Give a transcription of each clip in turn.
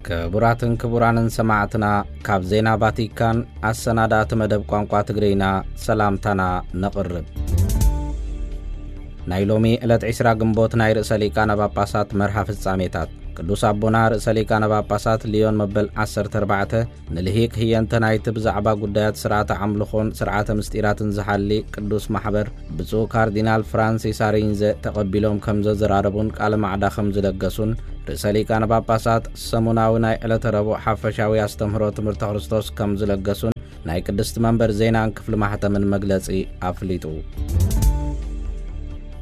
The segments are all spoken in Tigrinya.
ክቡራትን ክቡራንን ሰማዕትና፣ ካብ ዜና ቫቲካን ኣሰናዳእቲ መደብ ቋንቋ ትግርይና ሰላምታና ነቕርብ። ናይ ሎሚ ዕለት ዕስራ ግንቦት ናይ ርእሰ ሊቃነ ጳጳሳት መርሃ ፍጻሜታት። ቅዱስ ኣቦና ርእሰ ሊቃነ ጳጳሳት ሊዮን መበል ዓሰርተ ኣርባዕተ ንልሂቅ ህየንተ ናይቲ ብዛዕባ ጉዳያት ስርዓተ ኣምልኾን ስርዓተ ምስጢራትን ዝሓሊ ቅዱስ ማሕበር ብፁዕ ካርዲናል ፍራንሲስ ኣሪንዘ ተቐቢሎም ከም ዘዘራረቡን ቃለ ማዕዳ ከም ዝለገሱን ርእሰ ሊቃነ ጳጳሳት ሰሙናዊ ናይ ዕለተ ረቡዕ ሓፈሻዊ ኣስተምህሮ ትምህርተ ክርስቶስ ከም ዝለገሱን ናይ ቅድስቲ መንበር ዜናን ክፍሊ ማሕተምን መግለጺ ኣፍሊጡ።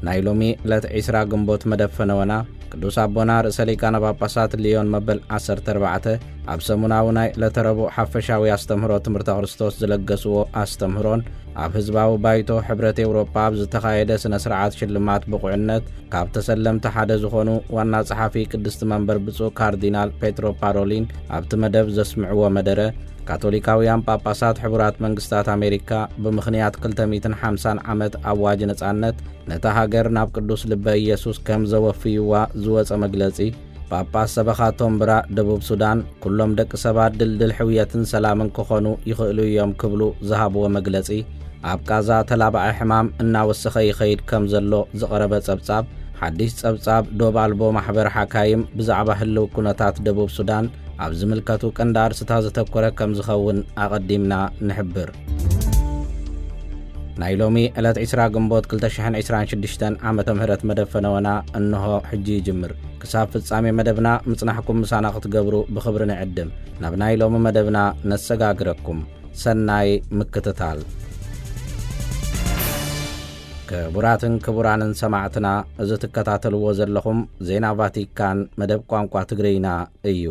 ናይ ሎሚ ዕለት ዕስራ ግንቦት መደብ ፈነወና ቅዱስ ኣቦና ርእሰ ሊቃነ ጳጳሳት ሊዮን መበል ዓሰርተ ኣርባዕተ ኣብ ሰሙናዊ ናይ ዕለተ ረቡዕ ሓፈሻዊ ኣስተምህሮ ትምህርተ ክርስቶስ ዝለገስዎ ኣስተምህሮን ኣብ ህዝባዊ ባይቶ ሕብረት ኤውሮጳ ኣብ ዝተኻየደ ስነ ስርዓት ሽልማት ብቑዕነት ካብ ተሰለምቲ ሓደ ዝኾኑ ዋና ጸሓፊ ቅድስቲ መንበር ብፁዕ ካርዲናል ፔትሮ ፓሮሊን ኣብቲ መደብ ዘስምዕዎ መደረ፣ ካቶሊካውያን ጳጳሳት ሕቡራት መንግስታት ኣሜሪካ ብምኽንያት ክልተ ሚእትን ሓምሳን ዓመት ኣዋጅ ነጻነት ነታ ሃገር ናብ ቅዱስ ልበ ኢየሱስ ከም ዘወፍይዋ ዝወጸ መግለጺ፣ ጳጳስ ሰበኻ ቶምብራ ደቡብ ሱዳን፣ ኩሎም ደቂ ሰባት ድልድል ሕውየትን ሰላምን ክኾኑ ይኽእሉ እዮም ክብሉ ዝሃብዎ መግለጺ፣ ኣብ ቃዛ ተላባዒ ሕማም እናወሰኸ ይኸይድ ከም ዘሎ ዝቐረበ ጸብጻብ፣ ሓድሽ ጸብጻብ ዶብ ኣልቦ ማሕበር ሓካይም ብዛዕባ ህልው ኩነታት ደቡብ ሱዳን ኣብ ዝምልከቱ ቀንዲ ኣርስታት ዘተኮረ ከም ዝኸውን ኣቐዲምና ንሕብር። ናይ ሎሚ ዕለት ዕስራ ግንቦት ክልተ ሽሕን ዕስራን ሽዱሽተን ዓመተ ምህረት መደብ ፈነወና እንሆ ሕጂ ይጅምር። ክሳብ ፍጻሜ መደብና ምጽናሕኩም ምሳና ክትገብሩ ብኽብሪ ንዕድም። ናብ ናይ ሎሚ መደብና ነሰጋግረኩም። ሰናይ ምክትታል። ክቡራትን ክቡራንን ሰማዕትና፣ እዚ ትከታተልዎ ዘለኹም ዜና ቫቲካን መደብ ቋንቋ ትግርይና እዩ።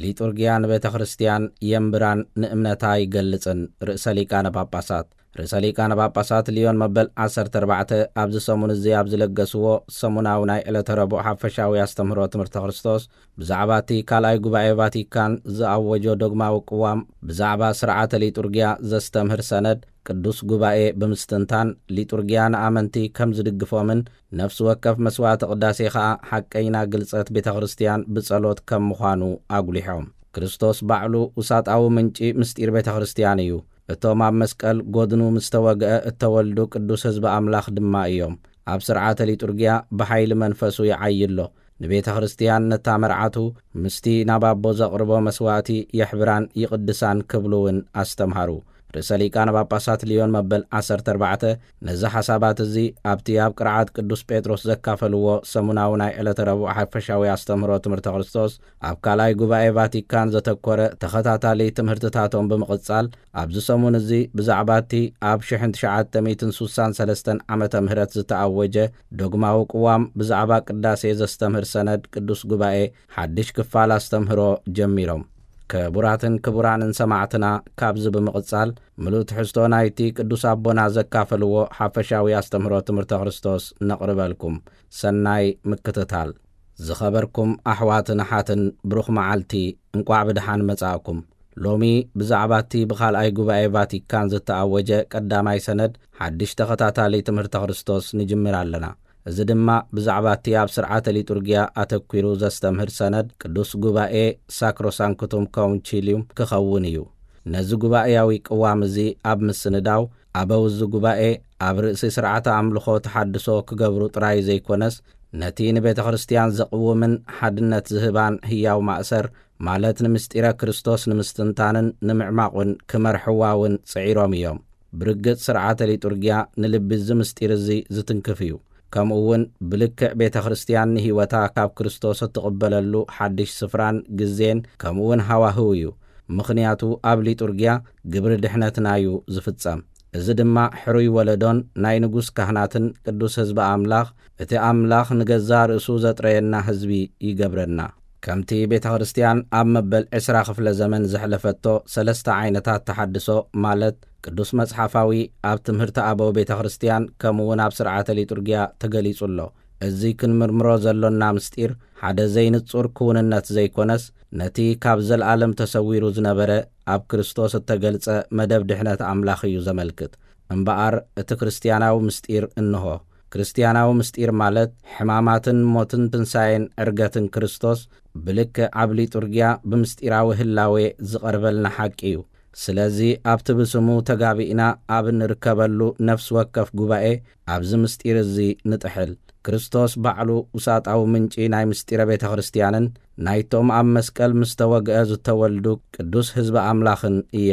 ሊጡርጊያ ንቤተ ክርስቲያን የንብራን ንእምነታ ይገልጽን። ርእሰ ሊቃነ ጳጳሳት ርእሰ ሊቃነ ጳጳሳት ሊዮን መበል ዓሰርተ ኣርባዕተ ኣብዚ ሰሙን እዚ ኣብ ዝለገስዎ ሰሙናዊ ናይ ዕለተ ረቡዕ ሓፈሻዊ ኣስተምህሮ ትምህርተ ክርስቶስ፣ ብዛዕባ እቲ ካልኣይ ጉባኤ ቫቲካን ዝኣወጆ ዶግማዊ ቅዋም፣ ብዛዕባ ስርዓተ ሊጡርጊያ ዘስተምህር ሰነድ ቅዱስ ጉባኤ ብምስትንታን፣ ሊጡርጊያ ንኣመንቲ ከም ዝድግፎምን ነፍሲ ወከፍ መስዋዕቲ ቅዳሴ ኸኣ ሓቀይና ግልጸት ቤተ ክርስቲያን ብጸሎት ከም ምዃኑ ኣጉሊሖም። ክርስቶስ ባዕሉ ውሳጣዊ ምንጪ ምስጢር ቤተ ክርስቲያን እዩ። እቶም ኣብ መስቀል ጎድኑ ምስ ተወግአ እተወልዱ ቅዱስ ህዝቢ ኣምላኽ ድማ እዮም። ኣብ ስርዓተ ሊጡርጊያ ብሓይሊ መንፈሱ ይዓዪ ኣሎ። ንቤተ ክርስቲያን ነታ መርዓቱ ምስቲ ናብ ኣቦ ዘቕርቦ መስዋዕቲ የሕብራን ይቕድሳን ክብሉ እውን ኣስተምሃሩ። ርእሰ ሊቃነ ጳጳሳት ሊዮን መበል ዓሰርተ ኣርባዕተ ነዚ ሓሳባት እዚ ኣብቲ ኣብ ቅርዓት ቅዱስ ጴጥሮስ ዘካፈልዎ ሰሙናዊ ናይ ዕለተ ረቡዕ ሓፈሻዊ ኣስተምህሮ ትምህርተ ክርስቶስ ኣብ ካልኣይ ጉባኤ ቫቲካን ዘተኮረ ተኸታታሊ ትምህርትታቶም ብምቕጻል፣ ኣብዚ ሰሙን እዚ ብዛዕባ እቲ ኣብ ሽሕን ትሽዓተ ሚእትን ሱሳን ሰለስተን ዓመተ ምህረት ዝተኣወጀ ዶግማዊ ቅዋም ብዛዕባ ቅዳሴ ዘስተምህር ሰነድ ቅዱስ ጉባኤ ሓድሽ ክፋል ኣስተምህሮ ጀሚሮም። ክቡራትን ክቡራንን ሰማዕትና፣ ካብዚ ብምቕጻል ምሉእ ትሕዝቶ ናይቲ ቅዱስ ኣቦና ዘካፈልዎ ሓፈሻዊ ኣስተምህሮ ትምህርተ ክርስቶስ ነቕርበልኩም። ሰናይ ምክትታል። ዝኸበርኩም ኣሕዋትን ኣሓትን፣ ብሩኽ መዓልቲ፣ እንቋዕ ብደሓን መጻእኩም። ሎሚ ብዛዕባ እቲ ብኻልኣይ ጉባኤ ቫቲካን ዝተኣወጀ ቀዳማይ ሰነድ ሓድሽ ተኸታታሊ ትምህርተ ክርስቶስ ንጅምር ኣለና። እዚ ድማ ብዛዕባ እቲ ኣብ ስርዓተ ሊጡርጊያ ኣተኲሩ ዘስተምህር ሰነድ ቅዱስ ጉባኤ ሳክሮሳንክቱም ኮንቺልዩም ክኸውን እዩ። ነዚ ጉባኤያዊ ቅዋም እዚ ኣብ ምስንዳው፣ ኣበው እዚ ጉባኤ ኣብ ርእሲ ስርዓተ ኣምልኾ ተሓድሶ ክገብሩ ጥራይ ዘይኮነስ፣ ነቲ ንቤተ ክርስቲያን ዘቕውምን ሓድነት ዝህባን ህያው ማእሰር፣ ማለት ንምስጢረ ክርስቶስ ንምስትንታንን ንምዕማቑን ክመርሕዋ እውን ጽዒሮም እዮም። ብርግጽ ስርዓተ ሊጡርጊያ ንልቢ እዚ ምስጢር እዚ ዝትንክፍ እዩ። ከምኡ እውን ብልክዕ ቤተ ክርስቲያን ንህይወታ ካብ ክርስቶስ እትቕበለሉ ሓድሽ ስፍራን ግዜን ከምኡ እውን ሃዋህው እዩ። ምኽንያቱ ኣብ ሊጡርጊያ ግብሪ ድሕነትና እዩ ዝፍጸም። እዚ ድማ ሕሩይ ወለዶን ናይ ንጉስ ካህናትን ቅዱስ ህዝቢ ኣምላኽ፣ እቲ ኣምላኽ ንገዛ ርእሱ ዘጥረየና ህዝቢ ይገብረና። ከምቲ ቤተ ክርስቲያን ኣብ መበል ዕስራ ክፍለ ዘመን ዘሕለፈቶ ሰለስተ ዓይነታት ተሓድሶ፣ ማለት ቅዱስ መጽሓፋዊ፣ ኣብ ትምህርቲ ኣበው ቤተ ክርስቲያን፣ ከምኡ እውን ኣብ ስርዓተ ሊጡርጊያ ተገሊጹ ኣሎ። እዚ ክንምርምሮ ዘሎና ምስጢር ሓደ ዘይንጹር ክውንነት ዘይኮነስ፣ ነቲ ካብ ዘለኣለም ተሰዊሩ ዝነበረ ኣብ ክርስቶስ እተገልጸ መደብ ድሕነት ኣምላኽ እዩ ዘመልክት። እምበኣር እቲ ክርስትያናዊ ምስጢር እንሆ። ክርስትያናዊ ምስጢር ማለት ሕማማትን ሞትን ትንሳኤን ዕርገትን ክርስቶስ ብልክዕ ኣብ ሊጡርጊያ ብምስጢራዊ ህላዌ ዝቐርበልና ሓቂ እዩ። ስለዚ ኣብቲ ብስሙ ተጋቢእና ኣብ እንርከበሉ ነፍሲ ወከፍ ጉባኤ ኣብዚ ምስጢር እዚ ንጥሕል። ክርስቶስ ባዕሉ ውሳጣዊ ምንጪ ናይ ምስጢረ ቤተ ክርስትያንን ናይቶም ኣብ መስቀል ምስ ተወግአ ዝተወልዱ ቅዱስ ህዝቢ ኣምላኽን እያ።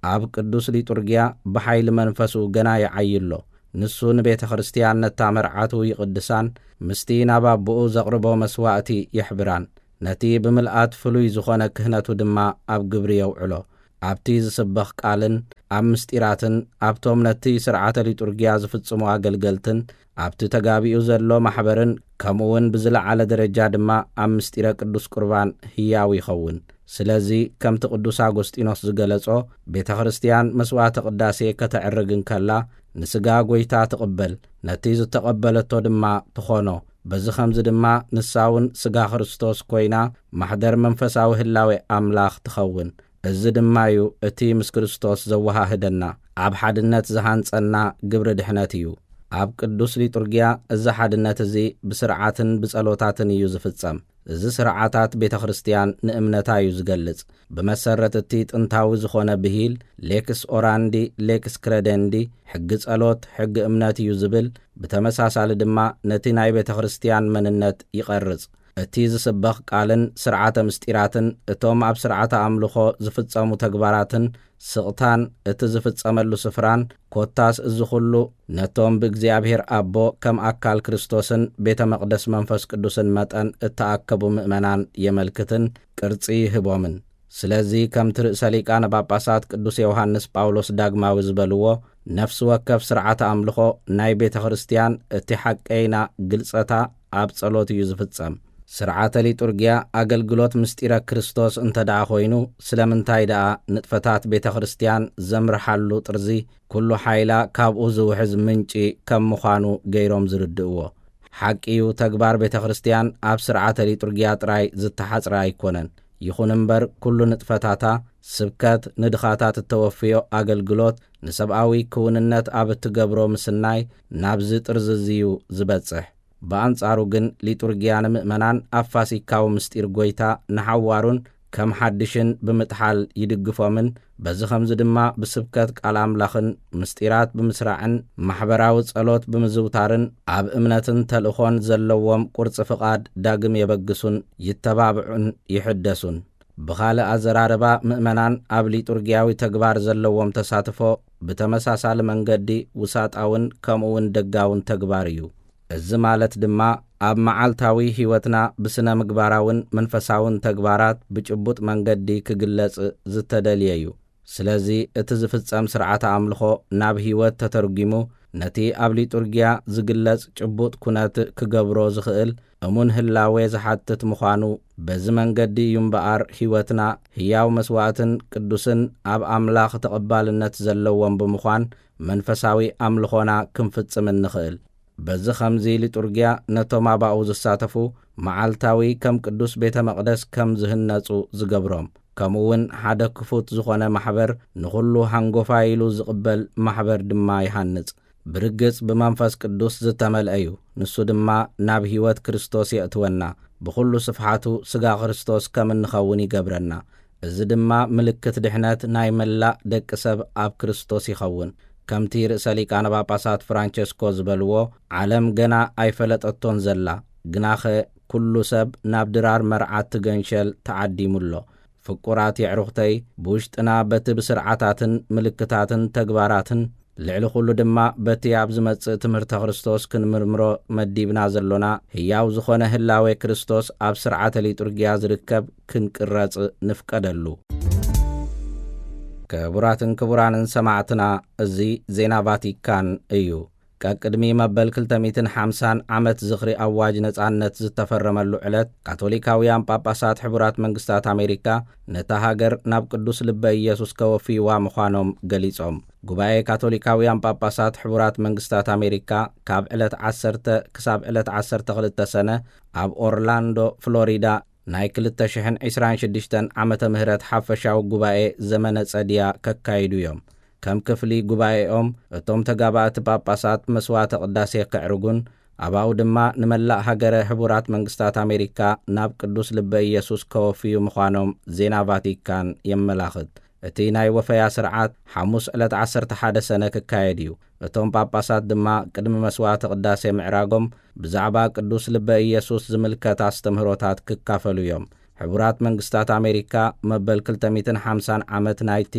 ኣብ ቅዱስ ሊጡርጊያ ብሓይሊ መንፈሱ ገና ይዓዪ ኣሎ። ንሱ ንቤተ ክርስትያን ነታ መርዓቱ ይቕድሳን ምስቲ ናብ ኣቦኡ ዘቕርቦ መስዋእቲ የሕብራን። ነቲ ብምልኣት ፍሉይ ዝኾነ ክህነቱ ድማ ኣብ ግብሪ የውዕሎ። ኣብቲ ዝስበኽ ቃልን ኣብ ምስጢራትን ኣብቶም ነቲ ስርዓተ ሊጡርጊያ ዝፍጽሙ ኣገልገልትን ኣብቲ ተጋቢኡ ዘሎ ማሕበርን ከምኡ እውን ብዝለዓለ ደረጃ ድማ ኣብ ምስጢረ ቅዱስ ቁርባን ህያው ይኸውን። ስለዚ ከምቲ ቅዱስ ኣጎስጢኖስ ዝገለጾ ቤተ ክርስትያን መስዋዕተ ቅዳሴ ከተዕርግ እንከላ ንስጋ ጎይታ ትቕበል፣ ነቲ ዝተቐበለቶ ድማ ትኾኖ። በዚ ኸምዚ ድማ ንሳ እውን ስጋ ክርስቶስ ኮይና ማሕደር መንፈሳዊ ህላዌ ኣምላኽ ትኸውን። እዚ ድማ እዩ እቲ ምስ ክርስቶስ ዘወሃህደና፣ ኣብ ሓድነት ዝሃንጸና ግብሪ ድሕነት እዩ። ኣብ ቅዱስ ሊጡርጊያ እዚ ሓድነት እዚ ብስርዓትን ብጸሎታትን እዩ ዝፍጸም። እዚ ስርዓታት ቤተ ክርስትያን ንእምነታ እዩ ዝገልጽ። ብመሰረት እቲ ጥንታዊ ዝኾነ ብሂል ሌክስ ኦራንዲ ሌክስ ክረደንዲ፣ ሕጊ ጸሎት ሕጊ እምነት እዩ ዝብል፣ ብተመሳሳሊ ድማ ነቲ ናይ ቤተ ክርስትያን መንነት ይቐርጽ። እቲ ዝስበኽ ቃልን ስርዓተ ምስጢራትን እቶም ኣብ ስርዓተ ኣምልኾ ዝፍጸሙ ተግባራትን ስቕታን እቲ ዝፍጸመሉ ስፍራን ኮታስ እዚ ኹሉ ነቶም ብእግዚኣብሔር ኣቦ ከም ኣካል ክርስቶስን ቤተ መቕደስ መንፈስ ቅዱስን መጠን እተኣከቡ ምእመናን የመልክትን ቅርጺ ይህቦምን። ስለዚ ከምቲ ርእሰ ሊቃነ ጳጳሳት ቅዱስ ዮሃንስ ጳውሎስ ዳግማዊ ዝበልዎ፣ ነፍሲ ወከፍ ስርዓተ ኣምልኾ ናይ ቤተ ክርስትያን እቲ ሓቀይና ግልጸታ ኣብ ጸሎት እዩ ዝፍጸም። ስርዓተ ሊጡርጊያ ኣገልግሎት ምስጢረ ክርስቶስ እንተ ደኣ ኮይኑ፣ ስለምንታይ ደኣ ንጥፈታት ቤተ ክርስትያን ዘምርሓሉ ጥርዚ ኩሉ ሓይላ ካብኡ ዝውሕዝ ምንጪ ከም ምዃኑ ገይሮም ዝርድእዎ? ሓቂ እዩ፣ ተግባር ቤተ ክርስትያን ኣብ ስርዓተ ሊጡርጊያ ጥራይ ዝተሓጽረ ኣይኮነን። ይኹን እምበር ኩሉ ንጥፈታታ፣ ስብከት፣ ንድኻታት እተወፍዮ ኣገልግሎት፣ ንሰብኣዊ ክውንነት ኣብ እትገብሮ ምስናይ ናብዚ ጥርዚ እዚ እዩ ዝበጽሕ። ብኣንጻሩ ግን ሊጡርጊያ ንምእመናን ኣብ ፋሲካዊ ምስጢር ጎይታ ንሓዋሩን ከም ሓድሽን ብምጥሓል ይድግፎምን፣ በዚ ኸምዚ ድማ ብስብከት ቃል ኣምላኽን ምስጢራት ብምስራዕን ማሕበራዊ ጸሎት ብምዝውታርን ኣብ እምነትን ተልእኾን ዘለዎም ቁርጺ ፍቓድ ዳግም የበግሱን ይተባብዑን ይሕደሱን። ብኻልእ ኣዘራርባ ምእመናን ኣብ ሊጡርጊያዊ ተግባር ዘለዎም ተሳትፎ ብተመሳሳሊ መንገዲ ውሳጣውን ከምኡ እውን ደጋውን ተግባር እዩ። እዚ ማለት ድማ ኣብ መዓልታዊ ሕይወትና ብስነ ምግባራውን መንፈሳውን ተግባራት ብጭቡጥ መንገዲ ክግለጽ ዝተደልየ እዩ። ስለዚ እቲ ዝፍጸም ስርዓተ ኣምልኾ ናብ ሕይወት ተተርጒሙ ነቲ ኣብ ሊጡርጊያ ዝግለጽ ጭቡጥ ኩነት ክገብሮ ዝኽእል እሙን ህላዌ ዝሓትት ምዃኑ በዚ መንገዲ እዩ እምበኣር ሕይወትና ህያው መስዋእትን ቅዱስን ኣብ ኣምላኽ ተቐባልነት ዘለዎም ብምዃን መንፈሳዊ ኣምልኾና ክንፍጽም እንኽእል። በዚ ኸምዚ ሊጡርጊያ ነቶም ኣባኡ ዝሳተፉ መዓልታዊ ከም ቅዱስ ቤተ መቕደስ ከም ዝህነጹ ዝገብሮም፣ ከምኡ እውን ሓደ ክፉት ዝኾነ ማሕበር ንኹሉ ሃንጎፋይ ኢሉ ዝቕበል ማሕበር ድማ ይሃንጽ። ብርግጽ ብመንፈስ ቅዱስ ዝተመልአ እዩ። ንሱ ድማ ናብ ሕይወት ክርስቶስ የእትወና። ብኹሉ ስፍሓቱ ስጋ ክርስቶስ ከም እንኸውን ይገብረና። እዚ ድማ ምልክት ድሕነት ናይ መላእ ደቂ ሰብ ኣብ ክርስቶስ ይኸውን። ከምቲ ርእሰ ሊቃነ ጳጳሳት ፍራንቸስኮ ዝበልዎ፣ ዓለም ገና ኣይፈለጠቶን ዘላ፣ ግናኸ ኩሉ ሰብ ናብ ድራር መርዓት ትገንሸል ተዓዲሙ ኣሎ። ፍቁራት የዕሩኽተይ፣ ብውሽጥና በቲ ብስርዓታትን ምልክታትን ተግባራትን፣ ልዕሊ ኩሉ ድማ በቲ ኣብ ዝመጽእ ትምህርተ ክርስቶስ ክንምርምሮ መዲብና ዘሎና ህያው ዝኾነ ህላዌ ክርስቶስ ኣብ ስርዓተ ሊጡርጊያ ዝርከብ ክንቅረጽ ንፍቀደሉ። ክቡራትን ክቡራንን ሰማዕትና፣ እዚ ዜና ቫቲካን እዩ። ቀቅድሚ መበል ክልተ ሚእትን ሓምሳን ዓመት ዝኽሪ ኣዋጅ ነጻነት ዝተፈረመሉ ዕለት፣ ካቶሊካውያን ጳጳሳት ሕቡራት መንግስታት ኣሜሪካ ነታ ሃገር ናብ ቅዱስ ልበ ኢየሱስ ከወፍይዋ ምዃኖም ገሊጾም። ጉባኤ ካቶሊካውያን ጳጳሳት ሕቡራት መንግስታት ኣሜሪካ ካብ ዕለት ዓሰርተ ክሳብ ዕለት ዓሰርተ ክልተ ሰነ ኣብ ኦርላንዶ ፍሎሪዳ ናይ ክልተ ሽሕን ዕስራን ሽዱሽተን ዓመተ ምህረት ሓፈሻዊ ጉባኤ ዘመነ ጸድያ ከካይዱ እዮም። ከም ክፍሊ ጉባኤኦም እቶም ተጋባእቲ ጳጳሳት መስዋዕተ ቅዳሴ ከዕርጉን ኣብኡ ድማ ንመላእ ሃገረ ሕቡራት መንግስታት ኣሜሪካ ናብ ቅዱስ ልበ ኢየሱስ ከወፍዩ ምዃኖም ዜና ቫቲካን የመላኽት። እቲ ናይ ወፈያ ስርዓት ሓሙስ ዕለት ዓሰርተ ሓደ ሰነ ክካየድ እዩ። እቶም ጳጳሳት ድማ ቅድሚ መስዋዕተ ቅዳሴ ምዕራጎም ብዛዕባ ቅዱስ ልበ ኢየሱስ ዝምልከት ኣስተምህሮታት ክካፈሉ እዮም። ሕቡራት መንግስታት ኣሜሪካ መበል ክልተ ሚእትን ሓምሳን ዓመት ናይቲ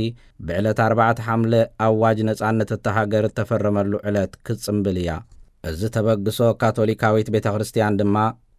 ብዕለት ኣርባዕተ ሓምለ ኣዋጅ ነጻነት እታ ሃገር እተፈረመሉ ዕለት ክትጽምብል እያ። እዚ ተበግሶ ካቶሊካዊት ቤተ ክርስቲያን ድማ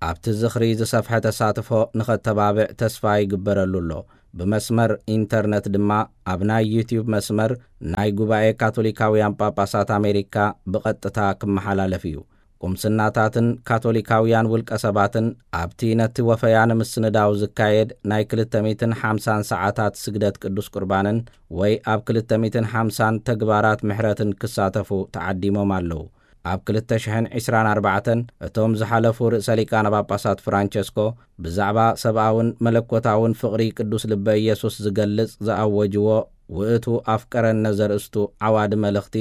ኣብቲ ዝኽሪ ዝሰፍሐ ተሳትፎ ንኸተባብዕ ተስፋ ይግበረሉ ኣሎ። ብመስመር ኢንተርነት ድማ ኣብ ናይ ዩቲዩብ መስመር ናይ ጉባኤ ካቶሊካውያን ጳጳሳት ኣሜሪካ ብቐጥታ ክመሓላለፍ እዩ። ቁምስናታትን ካቶሊካውያን ውልቀ ሰባትን ኣብቲ ነቲ ወፈያ ንምስንዳው ዝካየድ ናይ ክልተ ሚእትን ሓምሳን ሰዓታት ስግደት ቅዱስ ቁርባንን ወይ ኣብ ክልተ ሚእትን ሓምሳን ተግባራት ምሕረትን ክሳተፉ ተዓዲሞም ኣለዉ። ኣብ ክልተ ሽሕን ዕስራን ኣርባዕተን እቶም ዝሓለፉ ርእሰ ሊቃነ ጳጳሳት ፍራንቸስኮ ብዛዕባ ሰብኣውን መለኮታውን ፍቕሪ ቅዱስ ልበ ኢየሱስ ዝገልጽ ዝኣወጅዎ ውእቱ ኣፍቀረነ ዘርእስቱ ዓዋዲ መልእኽቲ፣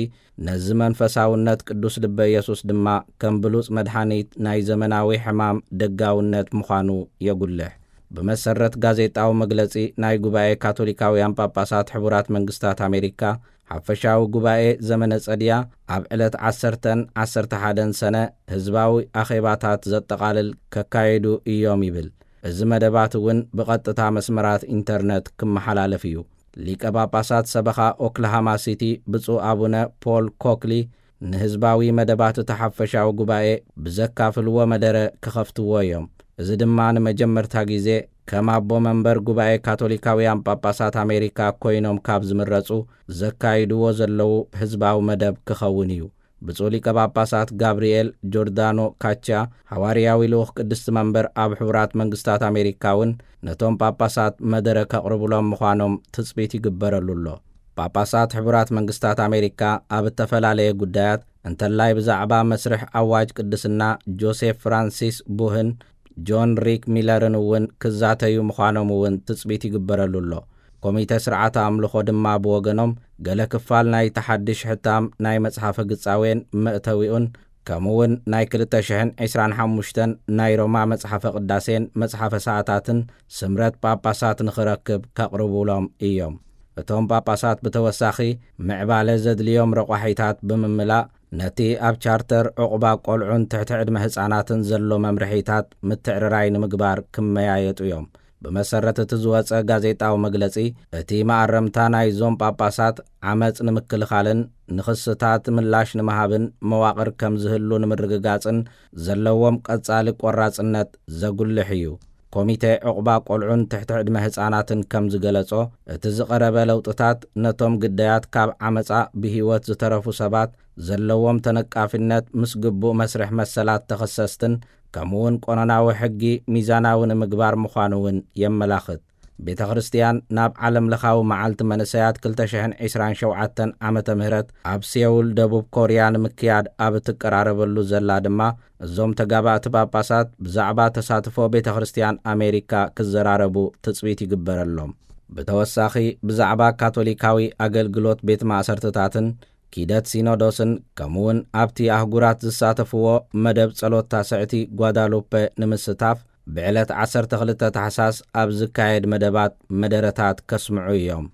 ነዚ መንፈሳውነት ቅዱስ ልበ ኢየሱስ ድማ ከም ብሉጽ መድሓኒት ናይ ዘመናዊ ሕማም ደጋውነት ምዃኑ የጉልሕ። ብመሰረት ጋዜጣዊ መግለጺ ናይ ጉባኤ ካቶሊካውያን ጳጳሳት ሕቡራት መንግስታት ኣሜሪካ፣ ሓፈሻዊ ጉባኤ ዘመነ ጸድያ ኣብ ዕለት ዓሰርተን ዓሰርተ ሓደን ሰነ ህዝባዊ ኣኼባታት ዘጠቓልል ከካየዱ እዮም ይብል። እዚ መደባት እውን ብቐጥታ መስመራት ኢንተርነት ክመሓላለፍ እዩ። ሊቀ ጳጳሳት ሰበኻ ኦክላሃማ ሲቲ ብፁዕ ኣቡነ ፖል ኮክሊ ንህዝባዊ መደባት እቲ ሓፈሻዊ ጉባኤ ብዘካፍልዎ መደረ ክኸፍትዎ እዮም። እዚ ድማ ንመጀመርታ ግዜ ከም ኣቦ መንበር ጉባኤ ካቶሊካውያን ጳጳሳት ኣሜሪካ ኮይኖም ካብ ዝምረጹ ዘካይድዎ ዘለዉ ህዝባዊ መደብ ክኸውን እዩ። ብፁዕ ሊቀ ጳጳሳት ጋብርኤል ጆርዳኖ ካቻ፣ ሃዋርያዊ ልኡኽ ቅድስቲ መንበር ኣብ ሕቡራት መንግስታት ኣሜሪካ እውን ነቶም ጳጳሳት መደረ ከቕርቡሎም ምዃኖም ትጽቢት ይግበረሉ ኣሎ። ጳጳሳት ሕቡራት መንግስታት ኣሜሪካ ኣብ እተፈላለየ ጉዳያት፣ እንተላይ ብዛዕባ መስርሕ ኣዋጅ ቅድስና ጆሴፍ ፍራንሲስ ቡህን ጆን ሪክ ሚለርን እውን ክዛተዩ ምዃኖም እውን ትጽቢት ይግበረሉ ኣሎ። ኮሚተ ስርዓተ ኣምልኾ ድማ ብወገኖም፣ ገለ ክፋል ናይቲ ሓድሽ ሕታም ናይ መጽሓፈ ግጻዌን መእተዊኡን፣ ከምኡውን ናይ ክልተ ሽሕን ዕስራን ሓሙሽተን ናይ ሮማ መጽሓፈ ቅዳሴን መጽሓፈ ሰዓታትን ስምረት ጳጳሳት ንኽረክብ ከቕርቡሎም እዮም። እቶም ጳጳሳት ብተወሳኺ፣ ምዕባለ ዘድልዮም ረቋሒታት ብምምላእ፣ ነቲ ኣብ ቻርተር ዕቑባ ቆልዑን ትሕቲ ዕድመ ህጻናትን ዘሎ መምርሒታት ምትዕርራይ ንምግባር ክመያየጡ እዮም። ብመሰረት እቲ ዝወጸ ጋዜጣዊ መግለጺ፣ እቲ መኣረምታ ናይዞም ጳጳሳት ዓመጽ ንምክልኻልን ንኽስታት ምላሽ ንምሃብን መዋቕር ከም ዝህሉ ንምርግጋጽን ዘለዎም ቀጻሊ ቆራጽነት ዘጉልሕ እዩ። ኮሚተ ዕቑባ ቆልዑን ትሕቲ ዕድመ ህጻናትን ከም ዝገለጾ፣ እቲ ዝቐረበ ለውጥታት ነቶም ግዳያት ካብ ዓመጻ ብህይወት ዝተረፉ ሰባት ዘለዎም ተነቃፊነት ምስ ግቡእ መስርሕ መሰላት ተኸሰስትን ከምኡውን ቆነናዊ ሕጊ ሚዛናዊ ንምግባር ምዃኑ እውን የመላኽት። ቤተ ክርስቲያን ናብ ዓለም ለኻዊ መዓልቲ መንእሰያት ክልተ ሽሕን ዕስራን ሸውዓተን ዓመተ ምህረት ኣብ ሴውል ደቡብ ኮርያ ንምክያድ ኣብ እትቀራረበሉ ዘላ ድማ፣ እዞም ተጋባእቲ ጳጳሳት ብዛዕባ ተሳትፎ ቤተ ክርስቲያን ኣሜሪካ ክዘራረቡ ትጽቢት ይግበረሎም። ብተወሳኺ ብዛዕባ ካቶሊካዊ ኣገልግሎት ቤት ማእሰርትታትን ኪደት ሲኖዶስን ከምኡውን ኣብቲ ኣህጉራት ዝሳተፍዎ መደብ ጸሎት ታስዕቲ ጓዳሉፐ ንምስታፍ ብዕለት ዓሰርተ ክልተ ታሕሳስ ኣብ ዝካየድ መደባት መደረታት ከስምዑ እዮም።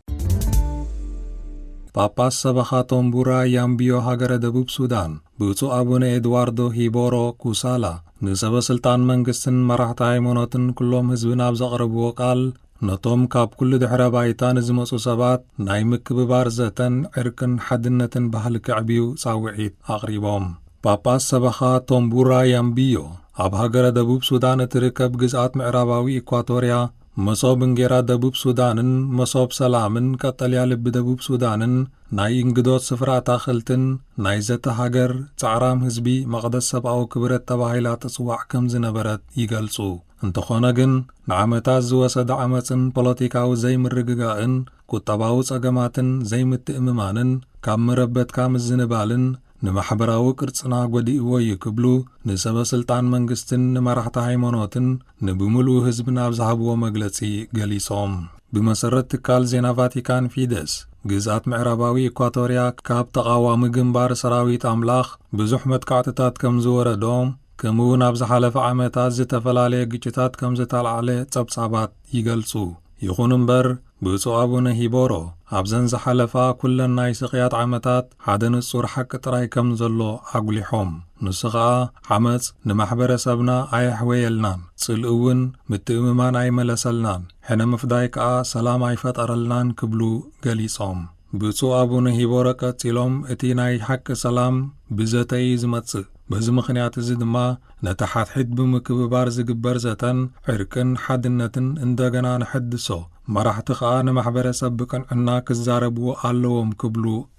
ጳጳስ ሰበኻ ቶምቡራ ያምቢዮ ሃገረ ደቡብ ሱዳን ብፁዕ ኣቡነ ኤድዋርዶ ሂቦሮ ኩሳላ ንሰበ ስልጣን መንግስትን መራሕቲ ሃይማኖትን ኩሎም ህዝብን ኣብ ዘቕረብዎ ቃል፣ ነቶም ካብ ኩሉ ድሕረ ባይታ ንዝመጹ ሰባት ናይ ምክብባር ዘተን ዕርቅን ሓድነትን ባህሊ ከዕብዩ ጻውዒት ኣቕሪቦም። ጳጳስ ሰበኻ ቶምቡራ ያምቢዮ ኣብ ሃገረ ደቡብ ሱዳን እትርከብ ግዝኣት ምዕራባዊ ኢኳቶርያ፣ መሶብ እንጌራ ደቡብ ሱዳንን መሶብ ሰላምን ቀጠልያ ልቢ ደቡብ ሱዳንን ናይ እንግዶት ስፍራ ኣታኽልትን ናይ ዘተ ሃገር ጻዕራም ህዝቢ መቕደስ ሰብኣዊ ክብረት ተባሂላ ትጽዋዕ ከም ዝነበረት ይገልጹ። እንተኾነ ግን፣ ንዓመታት ዝወሰደ ዓመጽን ፖለቲካዊ ዘይምርግጋእን ቁጠባዊ ጸገማትን ዘይምትእምማንን ካብ መረበትካ ምዝንባልን ንማሕበራዊ ቅርጽና ጎዲእዎ እዩ ክብሉ ንሰበ ስልጣን መንግስትን ንመራሕቲ ሃይማኖትን ንብምሉኡ ህዝብን ኣብ ዝሃብዎ መግለጺ ገሊጾም። ብመሰረት ትካል ዜና ቫቲካን ፊደስ፣ ግዝኣት ምዕራባዊ ኢኳቶርያ ካብ ተቓዋሚ ግንባር ሰራዊት ኣምላኽ ብዙሕ መጥቃዕትታት ከም ዝወረዶም፣ ከምኡውን ኣብ ዝሓለፈ ዓመታት ዝተፈላለየ ግጭታት ከም ዝተላዕለ ጸብጻባት ይገልጹ። ይኹን እምበር፣ ብፁዕ ኣቡነ ሂቦሮ ኣብዘን ዝሓለፋ ኩለን ናይ ስቕያት ዓመታት ሓደ ንጹር ሓቂ ጥራይ ከም ዘሎ ኣጉሊሖም። ንሱ ኸኣ፣ ዓመጽ ንማሕበረሰብና ኣየሕወየልናን፣ ጽልኢ እውን ምትእምማን ኣይመለሰልናን፣ ሕነ ምፍዳይ ከኣ ሰላም ኣይፈጠረልናን ክብሉ ገሊጾም። ብፁዕ ኣቡነ ሂቦረ ቀጺሎም፣ እቲ ናይ ሓቂ ሰላም ብዘተ እዩ ዝመጽእ። በዚ ምኽንያት እዚ ድማ፣ ነቲ ሓድሕድ ብምክብባር ዝግበር ዘተን ዕርቅን ሓድነትን እንደገና ንሐድሶ። መራሕቲ ኸኣ ንማሕበረሰብ ብቅንዕና ክዛረብዎ ኣለዎም ክብሉ